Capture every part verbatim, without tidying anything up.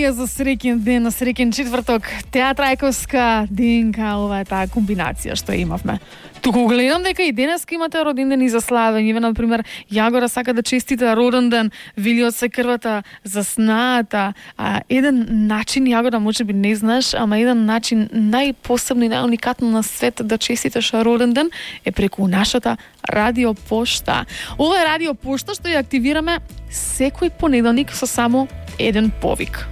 Амелија за среќен ден, на среќен четврток. Театрајковска денка, ова е таа комбинација што имавме. Туку гледам дека и денеска имате роден ден и за славење. Еве, например, Јагора сака да честита роден ден, вели од се крвата за снаата. А, еден начин, Јагора, може би не знаеш, ама еден начин најпосебно и најуникатно на свет да честиташ роден ден е преку нашата радиопошта. Ова е радиопошта што ја активираме секој понеделник со само еден повик.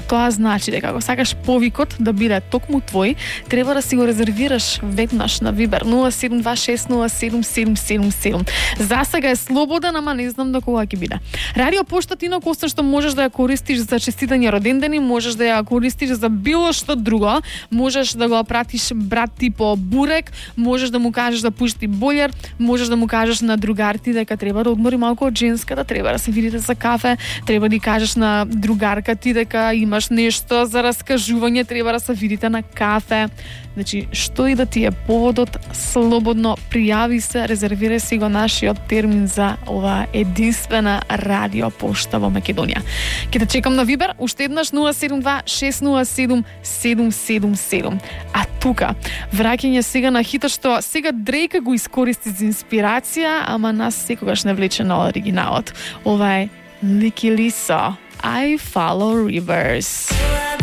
Тоа значи дека ако сакаш повикот да биде токму твој, треба да си го резервираш веднаш на Вибер нула седум два шест нула седум седум седум седум. За сега е слободен, ама не знам до кога ќе биде. Радиопошта ти инаку освен што можеш да ја користиш за честитање родендени, можеш да ја користиш за било што друго. Можеш да го пратиш брат ти по бурек, можеш да му кажеш да пушти бољер, можеш да му кажеш на другар ти дека треба да одмори малку од женската, треба да се видите за кафе, треба да кажеш на другарка ти дека имаш нешто за раскажување, треба да се видите на кафе. Значи, што и да ти е поводот, слободно пријави се, резервирај си го нашиот термин за оваа единствена радиопошта во Македонија. Ќе те чекам на Вибер, уште еднаш нула седум два шест нула седум седум седум седум. А тука, враќање сега на хитот што сега Дрейка го искористи за инспирација, ама нас секогаш не влече на оригиналот. Ова е Лики Лисо. I follow rivers.